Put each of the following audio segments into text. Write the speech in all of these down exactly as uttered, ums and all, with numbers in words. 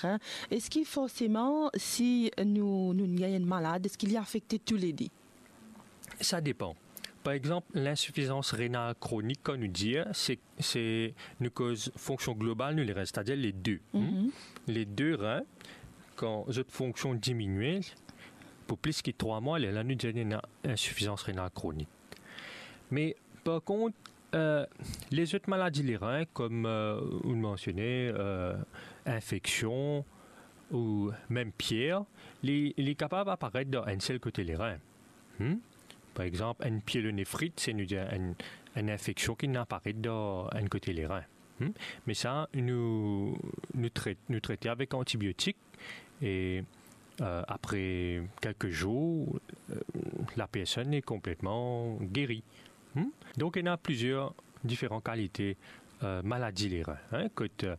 ren. Eski forseman, si nou, nou gagn enn malad, eski li afekte toulede? Sa depan. Par exanp, linsifizans renal kronik, kan nou dir, se, se nou koz fonksion global nou lerin, setadir le de, hmm? Mhm. Le de ren, kan zot fonksion diminie, pou plis ki trwa mwa, lerla nou dir ena linsifizans renal kronik. Me par kont, eh, lezot maladi lerin, kom, eh, ou mansione, eh, infeksion ou mem pier, li, li kapav aparet dan enn sel kote lerin. Hmm? Par exanp, enn pyelonefrit, se nou dir enn, enn infeksion ki inn aparet dan enn kote lerin. Hmm? Me sa, nou, nou tret, nou trete avek antibiotik e, eh, apre kelke zour, eh, lapersonn li konpletman geri. Hmm? Donk, ena plizier diferan kalite, eh, maladi lerin, hein, kot, eh,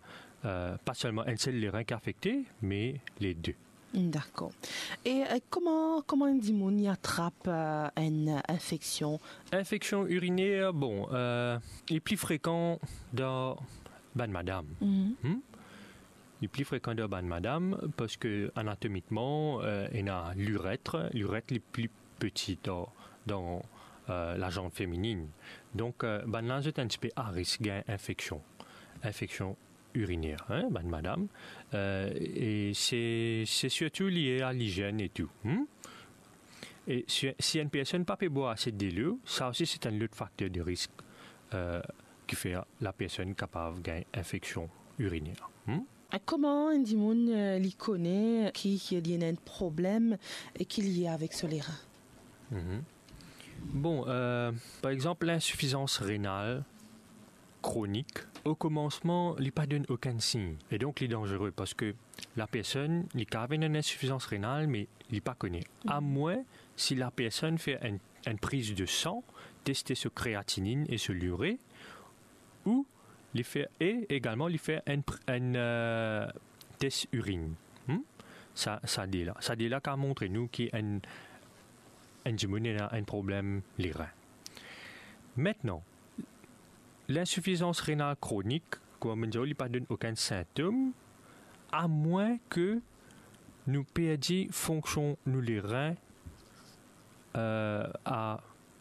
pa selman enn sel lerin ki afekte, me le de. Dakor. E, eh, kouma, kouma enn dimoun li atrap, eh, enn infeksion? Infeksion iriner, bon, eh, li pli frekan dan bann madam. Mhm. Hmm? Li pli frekan dan bann madam, parski anatomikman, eh, ena liretre, liretre li pli peti dan, dan, eh, lazanv feminin. Donk, eh, bannla zot enn tipe a risk gagn infeksion, infeksion iriner, hein, bann madam. Eh, e se, se sirtou lie a lizenn e tou, hmm? E si, si enn personn pa pe bwar ase delo, sa osi se enn lot fakter de risk, eh, ki fer lapersonn kapav gagn infeksion iriner. Hmm? E kouma enn dimoun, eh, li kone ki, ki li ena enn problem e ki lie avek so lerin? Mhm. Bon, eh, par exanp, linsifizans renal kronik, o komansman, li pa donn okenn sign. E donk, li danzere parski lapersonn, li kapav ena enn linsifizans renal, me li pa kone. Mhm. Amwin si lapersonn fer enn, enn priz de san, teste so kreatininn e so lire, ou li fer, e egalman li fer enn pr-, enn, eh, tes irin. Hmm? Sa, sa de la. Sa de la kapav montre nou ki enn, enn dimoun ena enn problem lerin. Aster, linsifizans renal kronik, kouma mo dir, li pa donn okenn sintom, amwin ki nou perdi fonksion nou lerin, eh, a,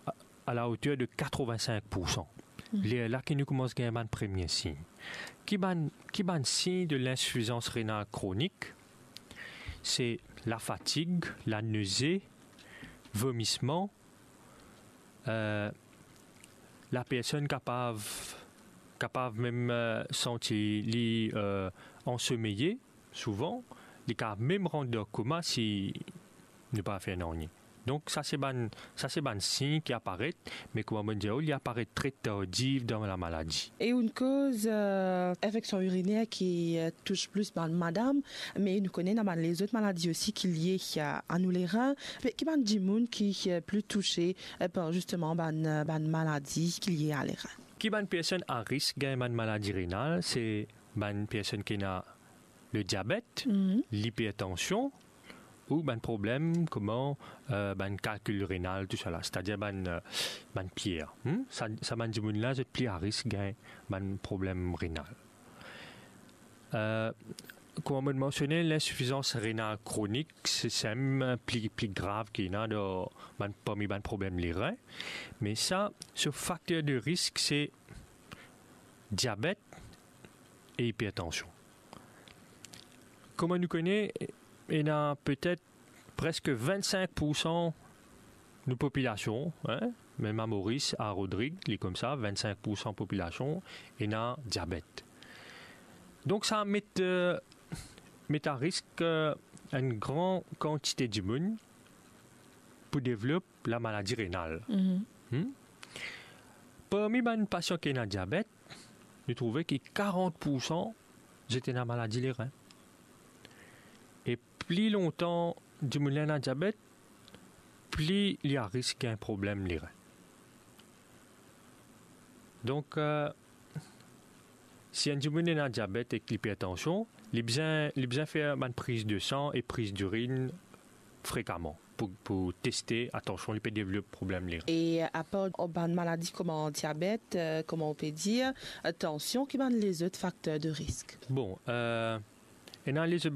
a, a la oter de katrovin-sink poursan. Hmm. Lerla ki nou koumans gagn bann premie sign. Ki bann, ki bann sign de linsifizans renal kronik? Se lafatig, laneze, vomisman, eh, lapersonn kapav, kapav mem, eh, santi li, eh, ansomeyi souvan, li kapav mem rant dan koma si nou pa fer nanye. Donk, sa se bann, sa se bann sign ki aparet, me kouma mo dir, li aparet tre tardiv dan lamaladi. E enn koz, eh, infeksion iriner ki, eh, tous plis bann madam, me nou kone ena bann lezot maladi osi ki lie, eh, a nou lerin. Pe-, ki bann dimoun ki, eh, pli touse, eh, par zisteman bann, eh, bann maladi ki lie a lerin? Ki bann personn a risk gagn bann maladi renal? Se bann personn ki ena le diabet, mhm, lipertansion, ou bann problem kouma, eh, bann kalkil renal, tousala, setadir bann, eh, bann pier. Hmm? Sa, sa bann dimoun la, zot pli a risk gagn bann problem renal. Eh, kouma mo mansione, linsifizans renal kronik, se, se mem pli, pli grav ki ena dan bann, parmi bann problem lerin. Me sa, so fakter de risk, se diabet e ipertansion. Kouma nou kone, ena petet preske vinn-sink poursan nou popilasion, hein, mem a Moris, a Rodrig, li koumsa, vinn-sink poursan popilasion ena diabet. Donk, sa met, eh, met a risk, eh, enn gran kantite dimoun pou devlop lamaladi renal. Mhm. Hmm? Parmi bann pasian ki ena diabet, nou trouve ki karant poursan zot ena maladi lerin. E pli lontan dimoun la ena diabet, pli li a risk gagn problem lerin. Donk, eh, si enn dimoun ena diabet ek lipertansion, li bizin, li bizin fer bann priz de san e priz dirin frekaman pou, pou teste, atansion, li pe devlop problem lerin. E apar bann maladi kouma diabet, eh, kouma ou pe dir, eh, tansion, ki bann lezot fakter de risk? Bon, eh, Ena li zot